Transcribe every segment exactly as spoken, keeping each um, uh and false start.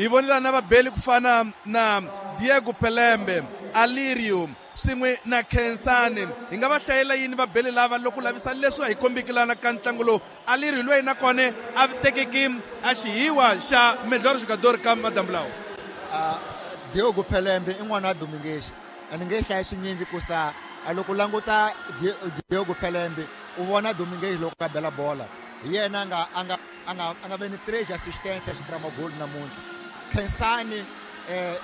Hi vonile na vabeli ku fana na Diego Pelembe, Alirio swin'we na Khensani. Hi nga va hlayela yini vabeli lava loko lavisa leswi a hi kombiki lana ka ntlangu lowu? Alirio loyi na kona a tekeki a xihiwa xa melhor jogador ka madambu lawa. Uh, Diogo Pelembe i n'wana wa Domingues. A ni nge hlayi swinyingi ku sa a loko languta Diogo Pelembe u vona Domingues loko a bela bola. Hi yena a nga a nga a nga a nga ve ni três assistências para magol namuntlha. Khensani eh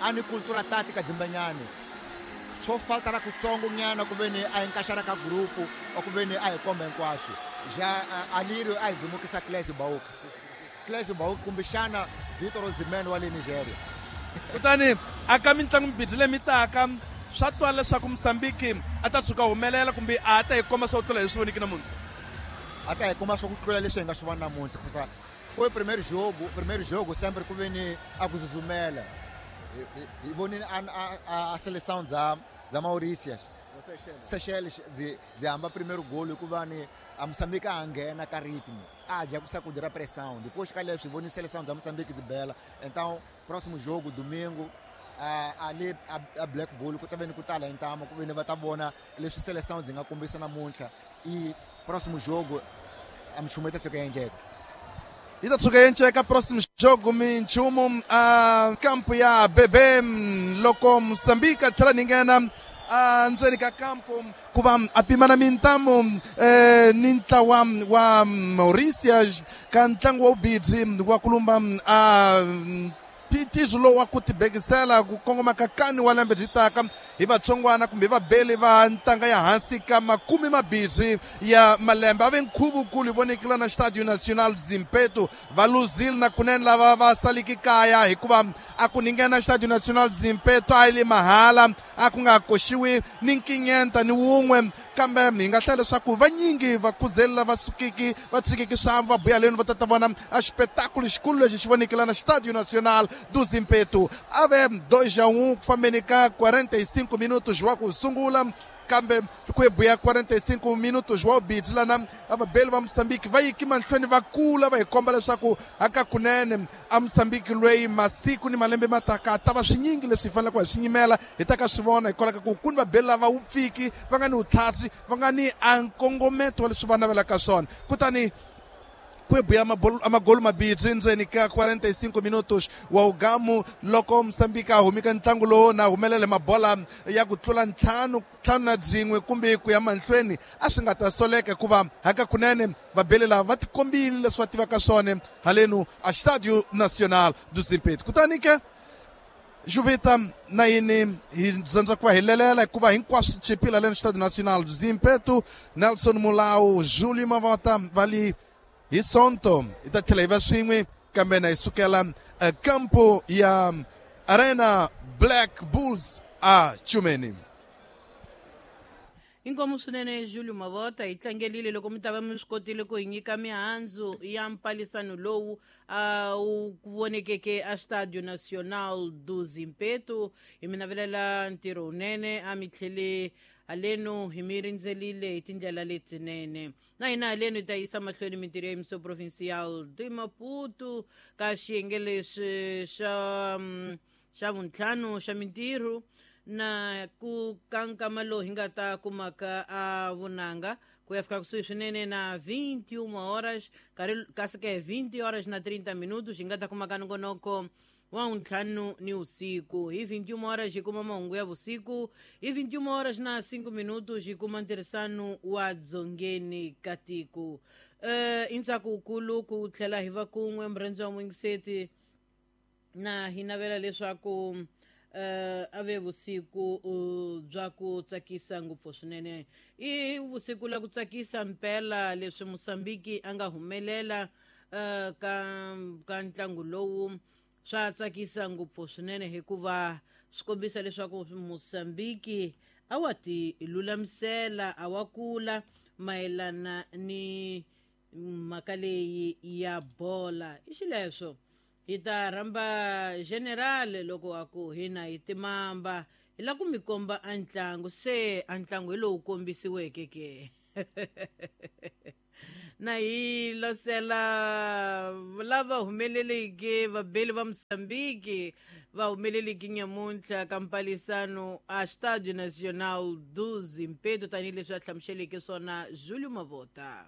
a ni cultura tática dzimbanyani. Swo falta ra kutsongo nyana ku ve ni a encaixar ka grupo ou ku ve ni a hi komba hinkwaswo. Já Alirio a hi dzimukisa Clésio Bauka. Clésio Bauka kumbexana Vitor Osimhen wa le Nigeria. Kutani aka mitlangu mibirhi leyi mi taka swa twala leswaku Mozambique a ta tshuka humelela kumbe a ta hi komba swo tlula hi swi voniki namuntlha. A ta hi komba swa ku tlula leswi hi nga swi vona namuntlha kusa foi primeiro jogo, primeiro jogo sempre ku ve ni a ku zuzumela. Hi vonile a a a seleção dza dza Mauritius. Seychelles dzi dzi hamba primeiro gol hikuva ni a Mozambique a nghena ka ritmo. A dya ku sacudir a pressão. Depois ka leswi hi vonile seleção dza Mozambique dzi bela. Então próximo jogo domingo a ali a, a Black Bull ku ta ve ni ku tala hi ntamu ku ve ni va ta vona leswi seleção dzi nga kombisa namuntlha. I próximo jogo a minchumu yi ta tshuka yi endleka. Yi ta tshuka yi endleka próximo jogo minchumu a kampo ya Bebe loko Mozambique a tlhela ni nghena a ndzeni ka kampo ku va a pimana mintamu eh, ni ntlawa wa Mauritius ka ntlangu wa vubidzi wa kulumba a phitizo lowu wa ku tibekisela ku kongoma ka kani wa lembe byi taka hi vatsongwana kumbe vabeli va ntanga ya hansi ka makume mabirhi ya malembe. A ve nkhuvukulu hi vonekile na Estádio Nacional Zimpeto va luzile na kunene lava va saliki kaya hikuva a ku ninghena Estádio Nacional Zimpeto a yi le mahala a ku nga koxiwi ni nkinyenta ni wun'we kambe hi nga hlaya leswaku vanyingi va kuzeli lava sukiki va tshikiki swa va buya leni va ta ta vona a xipetakulu xikulu lexi xi vonekile na Estádio Nacional do Zimpeto. A ve dois a um ku fambeni ka quarenta e cinco minutos wa ku sungula kambe ku buya quarenta e cinco minutos wa ubidzi lana a vabeli va Mozambique va yiki mahlweni va kula va hi komba leswaku aka kunene a Mozambique loyi masiku ni malembe ma taka ta va swinyingi leswi hi faneleke hi swi nyimela hi ta ka swi vona hikwalaho ka ku ku ni vabeli lava wupfiki va nga ni vutlhasi va nga ni a nkongometo wa leswi va navelaka swona. Kutani ku buya amagolo mabirhi ndzeni ka quarenta e cinco minutos wa ugamu loko Mozambique a humika ntlangu lowu na humelele mabola ya ku tlula ntlhanu ntlhanu na byin'we kumbe ku ya mahlweni a swi nga ta soleka hikuva haka kunene vabeli lava va tikombile leswi va tivaka swona halenu a Estádio Nacional do Zimpeto. Kutani ke Juvita na yini hi dzandza ku va hi lelela hikuva hinkwaswo chipile halenu Estádio Nacional do Zimpeto. Nelson Mulau, Júlio Mavota va li hi Sonto hi ta tlhela hi va swin'we kambe na hi sukela kampo ya Arena Black Bulls a Chumeni. Inkomu swinene Júlio Mavota hi tlangelile loko mi ta va mi swi kotile ku hi nyika mihandzu ya mpalisano lowu a wu vonekeke a Estádio Nacional do Zimpeto. Hi mi navelela ntirho wunene a mi tlhele haleno hi mi rindzelile hi tindlela letinene. Na hina haleno hi ta yisa mahlweni mintirho ya Emissão Provincial de Maputo ka xiyenge lexi xa xa vuntlhanu xa mintirho na ku ka nkama lowu hi nga ta kumaka a vunanga ku ya fika kusuhi swinene na vinte e uma horas karhi kasi ke vinte horas na trinta minutos hi nga ta kumaka nongonoko wa ntlhanu ni usiku. Hi vinte e uma horas hi kuma mahungu ya vusiku, hi vinte e uma horas na cinco minutos hi kuma ntirhisano wa dzongeni ka tiko. Uh, i ntsako wukulu ku tlhela hi va kun'we murhandzi wa n'wingiseti na hi navela leswaku uh, a ve vusiku uh, bya ku tsakisa ngopfu swinene. I vusiku la ku tsakisa mpela leswi Mozambique a nga humelela uh, ka ka ntlangu lowu swa tsakisa ngopfu swinene hikuva swi kombisa leswaku Mozambique a wa ti lulamisela a wa kula mayelana ni mhaka leyi ya bola. I xileswo hi ta rhamba general loko a ku hina hi timamba hi la ku mi komba a ntlangu se a ntlangu hi lowu kombisiweke ke. Na hi losela lava humeleleke vabeli va Mozambique va humeleleke nyamuntlha ka mpalisano a Estádio Nacional do Zimpeto, tanihileswi a hlamuseleke swona Julio Mavota.